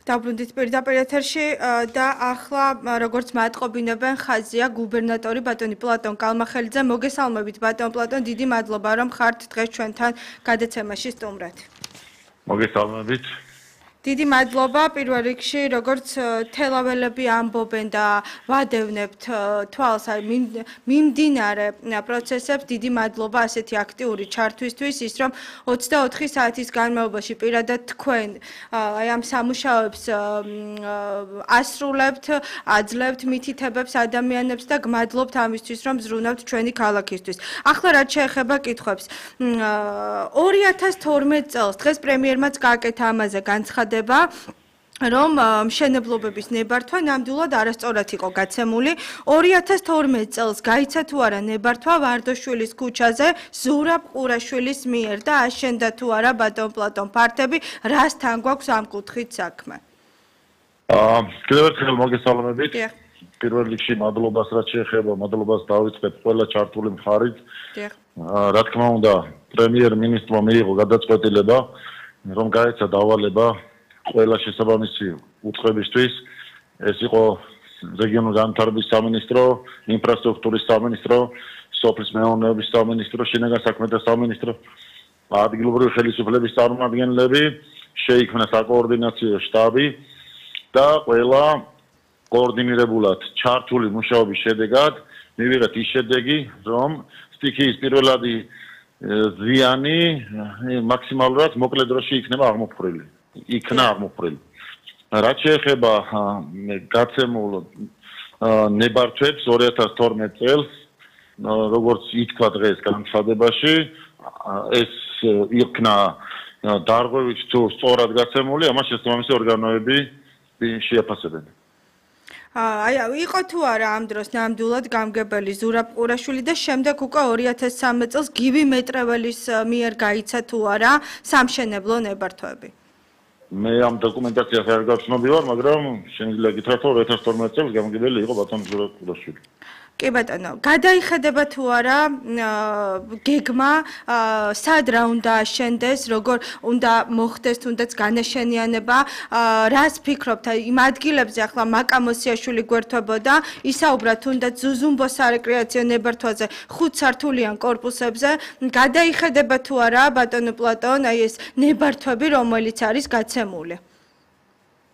დაბრუნდით პირდაპირ ეთერში და ახლა როგორც მატყობინებენ ხაზია გუბერნატორი ბატონი პლატონ კალმახელიძე. მოგესალმებით ბატონ პლატონ, დიდი მადლობა რომ ხართ დღეს ჩვენთან გადაცემაში სტუმრად. მოგესალმებით. დიდი მადლობა პირველ რიგში, როგორც თელაველები ამბობენ და ვადევნებთ თვალს მიმდინარე პროცესებს, დიდი მადლობა ასეთი აქტიური ჩართვისთვის, ის რომ 24 საათის განმავლობაში პირადად თქვენ აი ამ სამუშაოებს ასრულებთ, აძლევთ მითითებებს ადამიანებს და გმადლობთ ამისთვის, რომ ზრუნავთ ჩვენი ქალაქისთვის. ახლა რაც შეეხება კითხვებს. 2012 წელს დღეს პრემიერმაც გააკეთა ამაზე განცხადება რომ მშენებლობების ნებართვა ნამდვილად არასწორად იყო გაცემული. 2012 წელს გაიცა თუ არა ნებართვა ვარდოშვილის ქუჩაზე ზურაბ ყურაშვილის მიერ და აშენდა თუ არა ბატონ პლატონ ფართები, რასთან გვაქვს ამ კუთხით საქმე? კიდევ ერთხელ მოგესალმებით. პირველ რიგში მადლობას რაც შეეხება, მადლობას დავიწყებ ყველა ჩართული მხარით. რა თქმა უნდა, პრემიერ-მინისტრმა მიიღო გადაწყვეტილება, რომ გაეცა დავალება ყველა შესაბამისი უწყებისთვის. ეს იყო რეგიონული განვითარების სამინისტრო, ინფრასტრუქტურის სამინისტრო, სოფლის მეურნეობის სამინისტრო, შინაგან საქმეთა სამინისტრო, ადგილობრივი ხელისუფლების წარმომადგენლები, შეიქმნა საკოორდინაციო შტაბი და ყველა კოორდინირებულად ჩართული მუშაობის შედეგად მივიღეთ ის შედეგი, რომ სტიქიის პირველადი ზიანი მაქსიმალურად მოკლე დროში იქნება აღმოფხვრილი. რაც შეეხება გაცემულ ნებართვებს 2012 წელს, როგორც ითქვა დღეს განცხადებაში, ეს იქნა დარღვევით თუ სწორად გაცემული, ამას შესაბამისი ორგანოები შეაფასებენ. აი იყო თუ არა ამ დროს ნამდვილად გამგებელი ზურაბ ყურაშვილი და შემდეგ უკვე 2013 წელს გივი მეტრეველის მიერ გაიცა თუ არა სამშენებლო ნებართვები? მე ამ დოკუმენტაციას არ გავცნობი ვარ, მაგრამ შეიძლება გითხრათ, რომ 2012 წელს გამგებელი იყო ბატონ ზურაბ ყურაშვილი. კი ბატონო, გადაიხედება თუ არა გეგმა სად რა უნდა აშენდეს, როგორ უნდა მოხდეს თუნდაც განაშენიანება, რას ფიქრობთ იმ ადგილებზე ახლა მაკამოსიაშვილი გვერდებოდა, ისაუბრა თუნდაც ზუზუმბოს სარეკრეაციო ნებართვაზე 5 სართულიან კორპუსებზე, გადაიხედება თუ არა ბატონო პლატონ აი ეს ნებართვები, რომელიც არის გაცემული?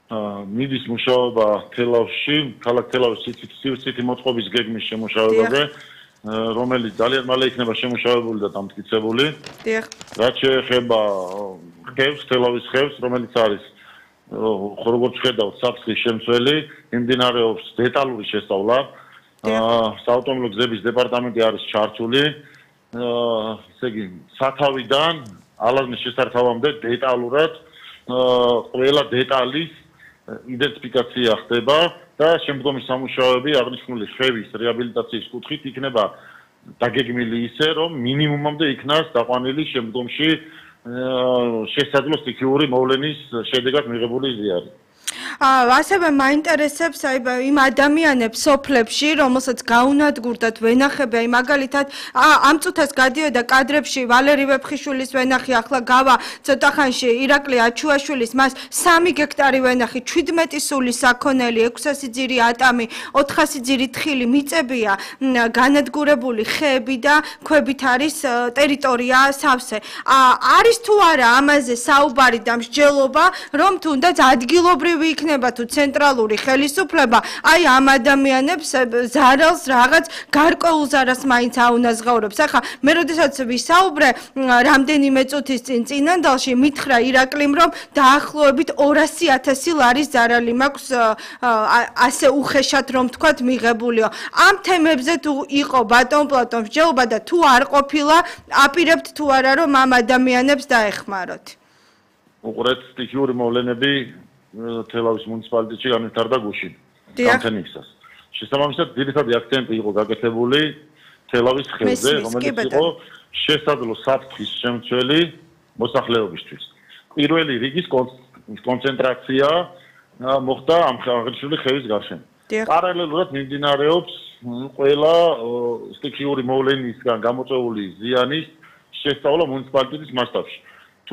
მიდის მუშაობა თელავში, ქალაქ თელავის სივრცითი მოწყობის გეგმის შემუშავებაზე, რომელიც ძალიან მალე იქნება შემუშავებული და დამტკიცებული. რაც შეეხება ხევს, თელავის ხევს, რომელიც არის როგორც ხედავთ საფრთხის შემცველი, მიმდინარეობს დეტალური შესწავლა. საავტომობილო გზების დეპარტამენტი არის ჩართული. ესე იგი, სათავიდან ალაზნის შესართავამდე დეტალურად ყველა დეტალის იდენტიფიკაცია ხდება და შემდგომი სამუშაოები აღნიშნული ხევის რეაბილიტაციის კუთხით იქნება დაგეგმილი ისე, რომ მინიმუმამდე იქნას დაყვანილი შემდგომში შესაძლო სტიქიური მოვლენის შედეგად მიღებული ზიარი. ასევე მაინტერესებს იმ ადამიანებს სოფლებში, რომელსაც გაუნადგურდათ ვენახები, აი მაგალითად ამ წუთას გადიოდა კადრებში ვალერი ვეფხიშვილის ვენახი, ახლა გავა ცოტა ხანში ირაკლი აჩუაშვილის, მას 3 გექტარი ვენახი, 17 სული საქონელი, 600 ძირი ატამი, 400 ძირი თხილი მიწებია განადგურებული ხეები და ქვებით არის ტერიტორია სავსე. არის თუ არა ამაზე საუბარი და მსჯელობა, რომ თუნდაც ადგილობრივი იქნება თუ ცენტრალური ხელისუფლება, აი ამ ადამიანებს ზარალს რაღაც გარკვეულ ზარას მაინც აუნაზღაურებს. ახლა მე როდესაც ვისაუბრე რამდენიმე წუთის წინ წინანდალში მითხრა ირაკლიმ, რომ დაახლოებით 200,000 ლარის ზარალი მაქვს ასე უხეშად რომ თქვათ მიღებულიო. ამ თემებზე თუ იყო ბატონ პლატონ მსჯელობა და თუ არ ყოფილა, აპირებთ თუ არა რომ ამ ადამიანებს დაეხმაროთ? უყურეთ სტიქიური მოვლენები თელავის მუნიციპალიტეტში განვითარდა გუშინ გამთენიისას. შესაბამისად, ძირითადი აქცენტი იყო გაკეთებული თელავის ხევზე, რომელიც იყო შესაძლო საფრთხის შემცველი მოსახლეობისთვის. პირველი რიგის კონცენტრაცია მოხდა ამ აღნიშნული ხევის გარშემო. პარალელურად მიმდინარეობს ყველა სტიქიური მოვლენისგან გამოწვეული ზიანის შესწავლა მუნიციპალიტეტის მასშტაბში.